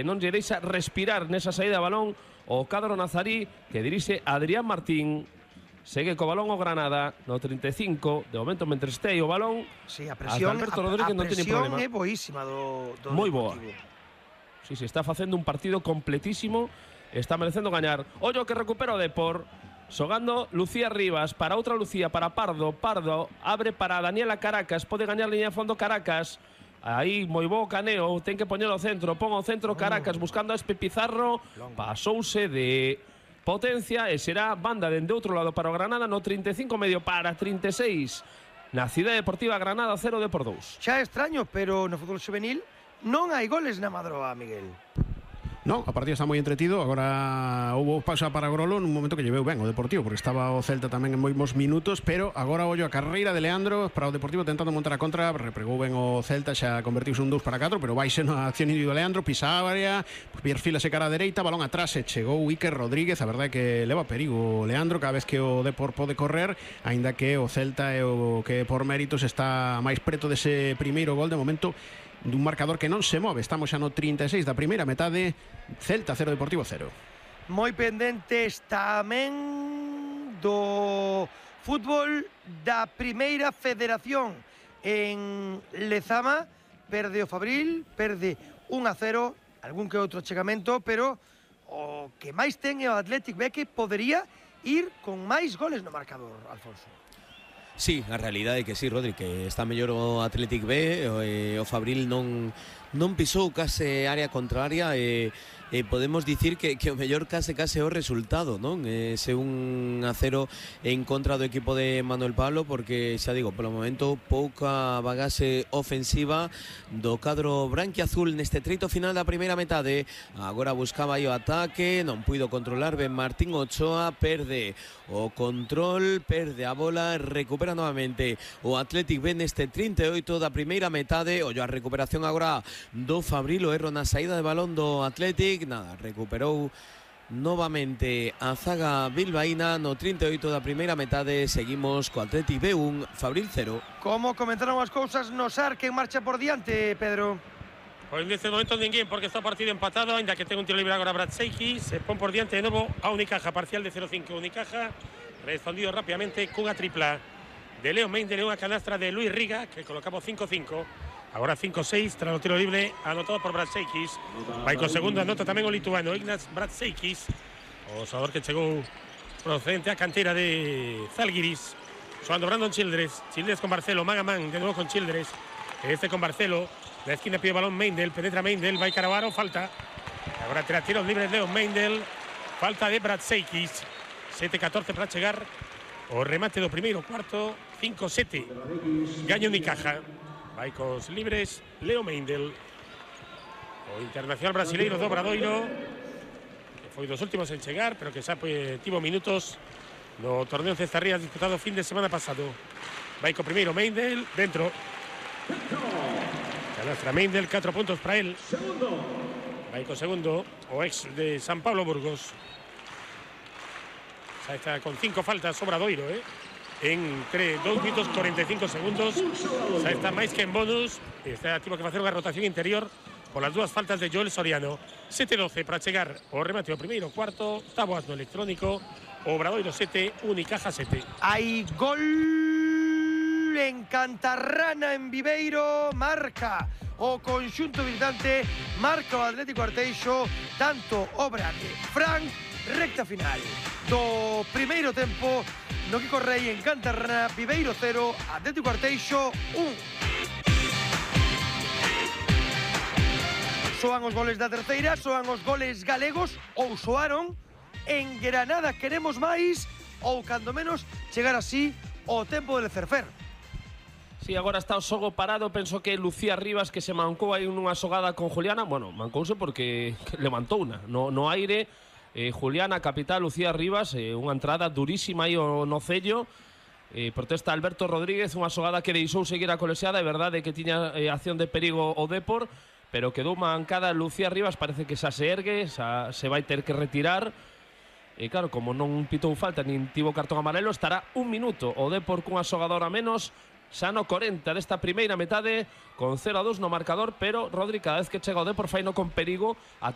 non lle deixa respirar nesa saída de balón o cadro nazarí que dirixe Adrián Martín. Segue co balón o Granada no 35, de momento mentre este o balón. Sí, a presión, Alberto Rodríguez non ten problema. é boísima do moi boa. Deportivo. Sí, está facendo un partido completísimo, está merecendo gañar. Ollo que recupera o Depor. Xogando Lucía Rivas para outra Lucía, para Pardo. Pardo abre para Daniela Caracas, pode gañar liña de fondo Caracas. Aí moi bo caneo, ten que poñer o centro, pon o centro Caracas buscando a Espe Pizarro. Pasouse de potencia e será banda dende outro lado para o Granada no 35 medio para 36. Na Cidade Deportiva Granada 0 Depor 2. Xa é extraño, pero no fútbol juvenil non hai goles na Madroa, Miguel. Non, o partido está moi entretido. Agora houve pausa para Grolo nun momento que lleveu ben o Deportivo, porque estaba o Celta tamén en moitos minutos, pero agora ollo a carreira de Leandro para o Deportivo tentando montar a contra. Repregou ben o Celta, xa convertiuse un 2-4, pero vai ser na acción individual de Leandro, pisa a área, perfílase cara a dereita, balón atrás e chegou Iker Rodríguez. A verdade é que leva perigo Leandro cada vez que o Depor pode correr, aínda que o Celta é o que por méritos está máis preto dese primeiro gol de momento dun marcador que non se move. Estamos xa no 36 da primeira metade. Celta 0 Deportivo 0. Moi pendentes tamén do fútbol da Primeira Federación en Lezama. Perde o Fabril, perde 1-0, algún que outro chegamento, pero o que máis ten é o Athletic B, que podería ir con máis goles no marcador, Alfonso. Sí, a realidade é que sí, Rodri, que está mellor o Athletic B, o Fabril non pisou case área contraria e podemos dicir que o mellor case o resultado, non? Ese 1-0 en contra do equipo de Manuel Pablo, porque xa digo, polo momento pouca bagaxe ofensiva do cadro branquiazul neste treito final da primeira metade. Agora buscaba aí o ataque, non puido controlar ben Martín Ochoa, perde o control, perde a bola, recupera novamente o Athletic B neste 38 da primeira metade. Ollo a recuperación agora do Fabril, o erro na saída de balón do Athletic. Nada, recuperou novamente a zaga bilbaína no 38 da primeira metade. Seguimos co Athletic B1, Fabril 0. Como comentaron as cousas no SAR, que marcha por diante, Pedro? Pois neste momento ninguén, porque está o partido empatado, ainda que ten un tiro libre agora Bratseiki, se pon por diante de novo a Unicaja, parcial de 0-5. Unicaja respondido rápidamente cunha tripla de Leo Mendel, unha canastra de Luis Riga, que colocamos 5-5. Agora 5-6 tras o tiro libre anotado por Bratseikis. Vai co segundo, anota tamén o lituano Ignaz Bratseikis, o xogador que chegou procedente a canteira de Zalgiris. Xogando Brandon Childress con Barcelo, man a man de novo con Childress, este con Barcelo. La esquina pide balón Mendel, penetra Mendel, vai Caravaro, falta. Agora terá tiros libres Leo Mendel, falta de Bratseikis. 7-14 para chegar o remate do primeiro cuarto. 5-7 gaño Unicaja. Vai cos libres Leo Mendel, o internacional brasileiro do Obradoiro, que foi dos últimos en chegar, pero que xa tivo minutos no torneo Cestarrías disputado fin de semana pasado. Vai co primeiro Mendel, dentro. Canastra Mendel, 4 puntos para él. Vai co segundo, o ex de San Pablo Burgos. Xa está con 5 faltas Obradoiro, entre 2 minutos 45 segundos. Xa está máis que en bonus. Está activo que facer unha rotación interior por las dúas faltas de Joel Soriano. 7-12 para chegar o remate do primeiro cuarto. Táboas no electrónico. Obradoiro 7, Unicaja 7. Hai gol en Cantarrana, en Viveiro. Marca o conxunto visitante, marca o Atlético Arteixo, tanto obra de Frank. Recta final do primeiro tempo no que correi en Cantarrana. Viveiro 0, Atlético Arteixo 1. Soan os goles da terceira, soan os goles galegos, ou soaron en Granada queremos máis, ou cando menos chegar así o tempo del Cerfer. Sí, agora está o xogo parado. Penso que Lucía Rivas, que se mancou aí nunha xogada con Juliana. Bueno, mancouse porque levantou unha no aire. Juliana, capital, Lucía Rivas, unha entrada durísima aí no cello. Protesta Alberto Rodríguez, unha xogada que deixou seguir a colexiada. É verdade que tiña acción de perigo o Depor, pero quedou mancada Lucía Rivas. Parece que xa se ergue, xa se vai ter que retirar. E claro, como non pitou falta nin tivo cartón amarelo, estará un minuto o Depor cunha xogadora menos, xa no 40 desta primeira metade, con 0-2 no marcador. Pero Rodri, cada vez que chega o Depor faino con perigo, ata